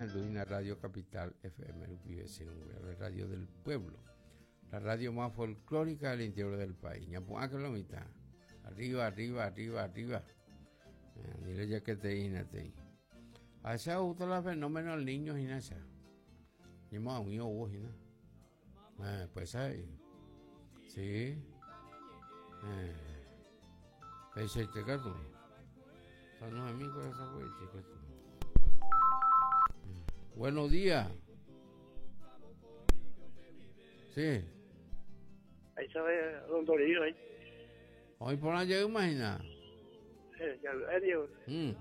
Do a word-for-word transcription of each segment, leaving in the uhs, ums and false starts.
Rohendúina Radio Capital F M rupive, la radio del pueblo, la radio más folclórica del interior del país. Ñapu'ãke lo mitã. Arriba, arriba, arriba, arriba. Eh, dile ya que te te. A esa gusta la fenómeno del niño hína esa. Ñemo hubo hína. Eh, pues ahí. Sí. Eh. Peichaite katu. Saludos amigos esa katu. Buenos días. Sí. Ahí sabe don Toribio ahí. Hoy por allá imagina. Eh, ya, eh, Diego. Mm.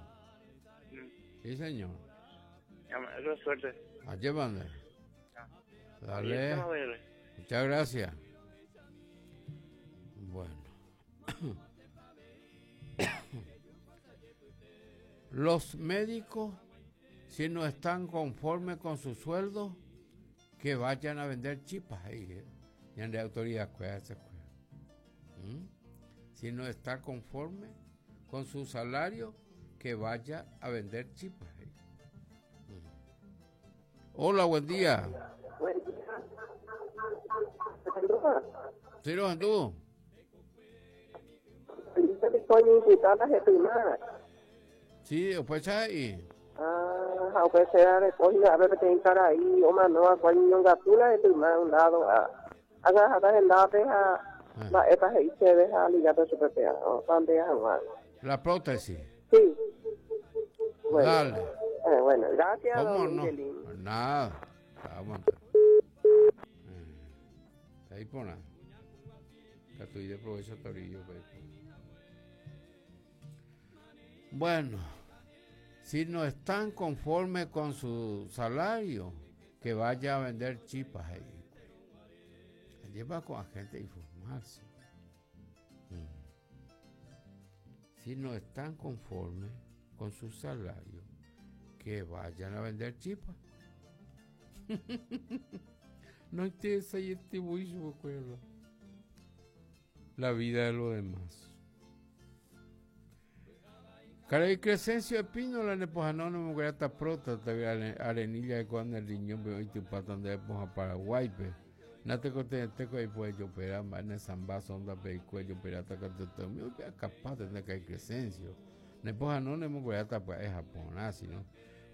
Sí, señor. Ya, eso es suerte. Allí van. Dale. Muchas gracias. Bueno. Los médicos, si no están conformes con su sueldo, que vayan a vender chipas ahí. Eh. Y en la autoridad, ¿Mm? Si no está conforme con su salario, que vaya a vender chipas ahí. ¿Mm? Hola, buen día. Buen día. Sí, tú. Sí, después ahí. Ah, aunque sea de cogida, a ver, peteĩ karai omanóva ko iñongatúna hetyma un lado ág̃a hendápe ha mba'épa he'i chéve ha ligáta chupe opánte hag̃ua. La prótesis. Sí. Bueno. Dale. Eh, bueno, gracias, ¿Cómo don no? Miguelín. Nada. Aguanta. Eh, ahí pone. Katu ideprovécho torillo. Bueno, si no están conformes con su salario, que vaya a vender chipas ahí. Lleva con la gente a informarse. Mm. Si no están conformes con su salario, que vayan a vender chipas. No interesa y este la vida de los demás. Karai Crescencio Espínola nepohãno nemongueráta próstata arenilla de cuando el riñón pe oitypáta nde pohã Paraguáipe. Natekotevẽtéko aipojopera mba'e samba sonda pe ikuejoperáta katuete umi capaz de Karai Crescencio. Nepohãno nemongueráta pya'e ha porã sino.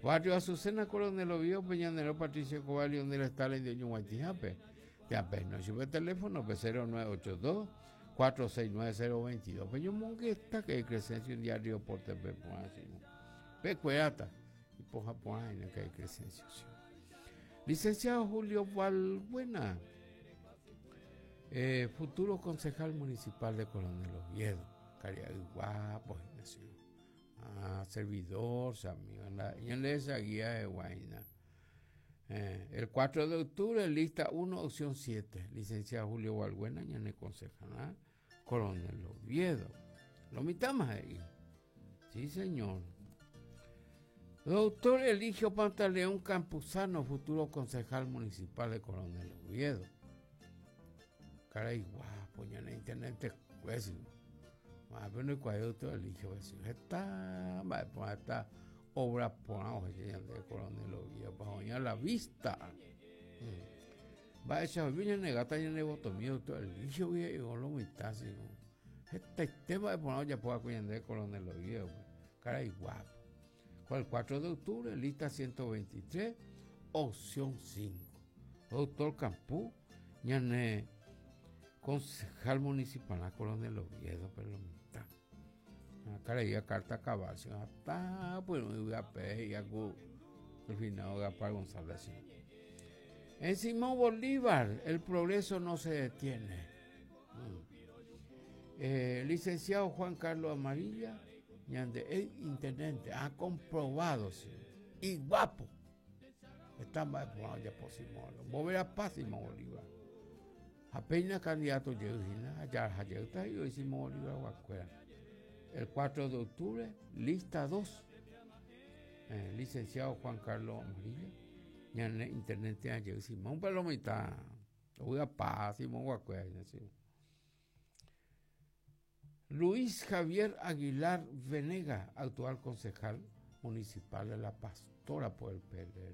Barrio Azucena, Coronel Oviedo, Peñanero Patricio Cobalio, donde está la indio Ñuguaytijape. Te no sube teléfono pe cero nueve ocho dos cuatro seis nueve cero veintidós. Pero yo mongueta que Crescencio un diario por T V por así. Pe cueata y poja por ahí que hay Crescencio. Sí. Licenciado Julio Valbuena, eh, futuro concejal municipal de Coronel Oviedo. Caría guapo, ah, servidor, amigo, en la, en esa guía de Guaina. Eh, el cuatro de octubre, lista uno, opción siete. Licenciado Julio Valbuena, ñane concejal, Coronel Oviedo. Lo mitad ahí. Sí, señor. Doctor Eligio Pantaleón Campuzano, futuro concejal municipal de Coronel Oviedo. Caray, guapo, ya en internet pues, más pero no hay doctor Eligio, está, va a esta obra por de Coronel Oviedo, para la vista. Mm. Va a echar viene negata ya ne doctor Eligio y lo mitad, este tema de poner ya pueda de Coronel Oviedo, pues. Caray, guapo. El cuatro de octubre, lista ciento veintitrés, opción cinco. Doctor Campú, ñane concejal municipal a Coronel Oviedo, pero lo mitad. Cara carta cabal, hasta bueno, y a P y a al final Gaspar González. En Simón Bolívar, el progreso no se detiene. Mm. Eh, licenciado Juan Carlos Amarilla, el intendente, ha comprobado, sí, y guapo. Está más ya por Simón. Mover a paz Simón Bolívar. Apenas candidato allá allá y Simón Bolívar. El cuatro de octubre, lista dos. Eh, licenciado Juan Carlos Amarilla, ñane intendente ayer Simón Palomita. Voy a paz Simón Guacuera. Luis Javier Aguilar Venega, actual concejal municipal de La Pastora por el P L R.